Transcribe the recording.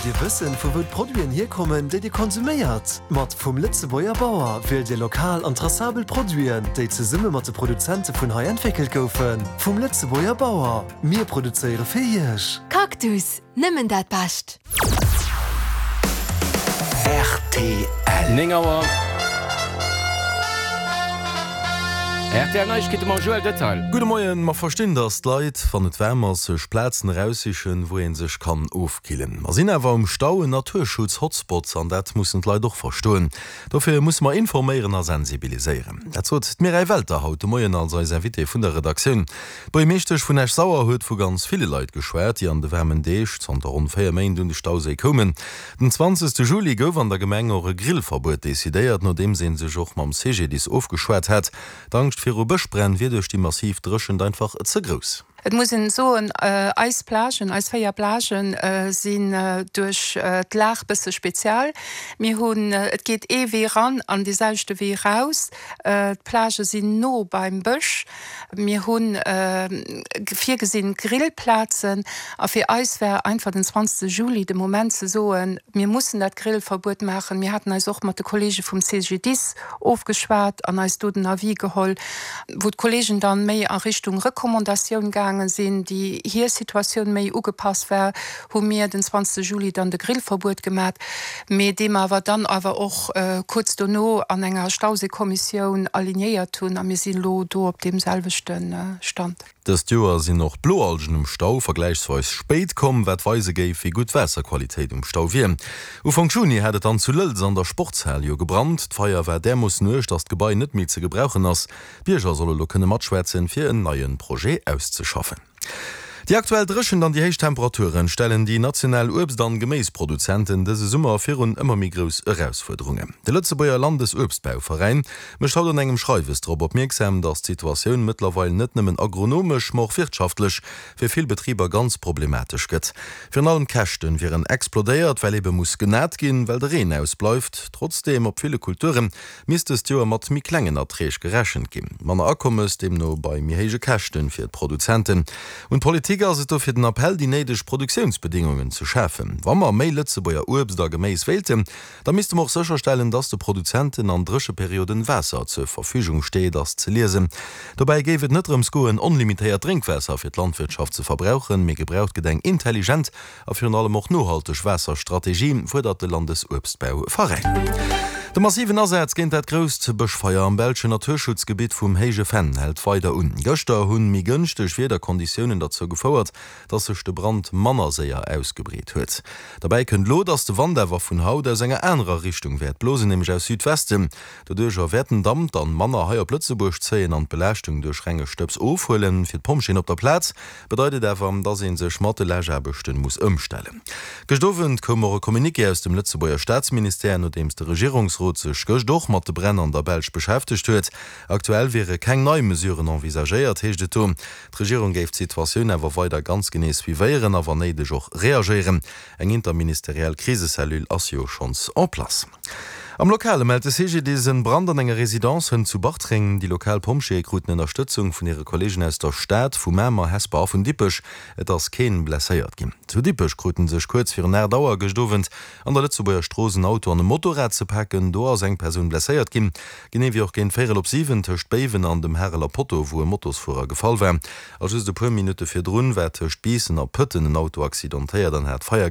Wëllt Dir wëssen, vu wou d'Produiten hierkommen, déi Dir konsuméiert? Mat Vum Lëtzebuerger Bauer wielt Dir lokal an traçabel Produiten, déi zesumme mat de Produzente vun hei entwéckelt goufen. Vum Lëtzebuerger Bauer, mir produzéiere fir Iech! Cactus, nëmmen dat Bescht! Rtl. 9 Auer. Rtl Neiegkeete mam Joël Detail. Gudde Moien. Mer verstinn, dass d'Leit, wann et waarm ass, sech Plazen eraussichen, wou ee sech kann ofkillen. Mer sinn awer um Stau en Naturschutz-Hotspot an dat mussen d'Leit och verstoen. Dofir musse mer informéieren a sensibiliséieren. Dat sot d'Mireille Welter haut de Moien als eis Invitée vun der Redaktioun. D'Buergermeeschtesch vun Esch-Sauer huet vu ganz ville Leit geschwat, déi an de waarmen Deeg zanter ronn 4 Méint un de Stauséi koumen. Den 20 Juli gouf an der Gemeng och e Grillverbuet decidéiert, nodeems ee sech och mam CGDIS ofgeschwat hat. D'Angscht viru Bëschbränn wier duerch déi massiv Dréchent einfach ze grouss. Et muss een soen, eis Plagen, eis 4 Plagen sinn duerch d'Lag bësse spezial. Mir hunn, et geet ee Wee ran an dee selwechte Wee raus. D'Plagë sinn no beim Bësch. Mir hu virgesinn Grillplazen a fir eis war einfach den 20 Juli de Moment ze soen, mir mussen dat Grillverbuet maachen. Mir haten eis och mat de Kollege vum CGDIS ofgeschwat an eis do den Avis geholl, wou d'Kollegen dann méi a Richtung Recommandatioun gaange sinn, déi hir Situatioun méi ugepasst war. hu mir den 20 Juli dann de Grillverbuet gemat, mee dee mer awer dann awer och kuerz dono an enger Stauséikommissioun alignéiert hunn a mir sinn elo do op deem selwechte Stand. Dëst Joer sinn och d'Bloalgen um Stau vergläichsweis spéit komm, wat weise géif, wéi gutt d'Waasserqualitéit um Stau wier. Ufank Juni hat et dann zu Lëlz an der Sportshal jo gebrannt. D'Feier war därmoossen uerg, datt d'Gebai net méi ze gebrauchen ass. D'Bierger solle lo kënne matschwätzen, fir en neie Projet auszeschaffen. Déi aktuell Dréchent an déi héich Temperaturen stellen déi national Uebst an Geméisproduzenten dëse Summer virun ëmmer méi grouss Erausfuerderungen. De Lëtzebuerger Landesuebstbauveräin mécht haut an engem Schreiwes drop opmierksam, datt d'Situatioun mëttlerweil net nëmmen agronomesch, ma och wirtschaftlech fir vill Betriber ganz problematesch gëtt. Virun allem d'Käschten wieren explodéiert, well ebe muss genat ginn, well de Reen ausbleift. Trotzdeem, op ville Kulture misst dëst Joer mat méi klengen Erträg gerechent ginn. Manner Akommes deemno bei méi héije Käschte fir d'Produzenten. Un d'Politik ass et dofir den Appell, déi néideg Produktiounsbedingungen ze schafen. Wa mer méi Lëtzebuerger Uebst a Geméis wéilten, da misste mer och sécherstellen, dass de Produzenten an Drécheperioden Waasser zur Verfügung steet, ass ze liesen. Dobäi géif et net drëms goen, onlimitéiert Drénkwaasser fir d'Landwirtschaft ze verbrauchen, mee gebraucht gëtt eng intelligent A virun allem och nohalteg Waasserstrategie, fuerdert de Landesuebstbauveräin. De massiven Asaz géint dat grousst Bëschfeier am belschen Naturschutzgebitt vum Héije Venn hält weider un. Gëschter hunn méi gënschteg Wiederkonditiounen derzou gefouert, dass sech de Brand manner séier ausgebreet huet. Derbäi kënnt elo, dass de Wand awer vun haut aus enger anerer Richtung wäert blosen, nämlech aus Südwesten. Doduercher wäert den Damp dann manner hei op Lëtzebuerg zéien an d'Belaaschtung duerch renge Stëbs ofhuelen. Fir d'Pompjeeën op der Plaz Bedeit et awer, dass ee sech mat de Läschaarbechten muss ëmstellen. Gëscht Owend koum och e Communiqué aus dem Lëtzebuerger Staatsministère, nodeems de Regierungsrot sech gëscht och mat de Bränn an der Belsch beschäftegt huet. Aktuell wiere keng nei Mesuren envisagéiert, heescht et do. D'Regierung géif d'Situatioun awer weider ganz genee suivéieren a wann néideg och reagéieren. Eng interministeriell Krisecellule ass jo schonns en place. Am Lokale mellt de CGDIS en Brand an enger Residence hënt zu Bartreng. Déi lokal Pompjeeë kruten Ënnerstëtzung vun hire Kolleegen aus der Stad, vu Mamer, Hesper a vun Dippech. Et ass keen blesséiert ginn. Zu Dippech kruten sech kuerz virun 8 Auer gëscht Owend an der Lëtzebuerger Strooss en Auto an e Motorrad ze paken. Do ass eng Persoun blesséiert ginn. Genee wéi och géint véierel op 7 tëscht Béiwen an dem Hareler Potto, wou e Motosfuerer gefall war. A just e puer Minutte virdrun war tëscht Biissen a Pëtten en Auto accidentéiert an hat Feier.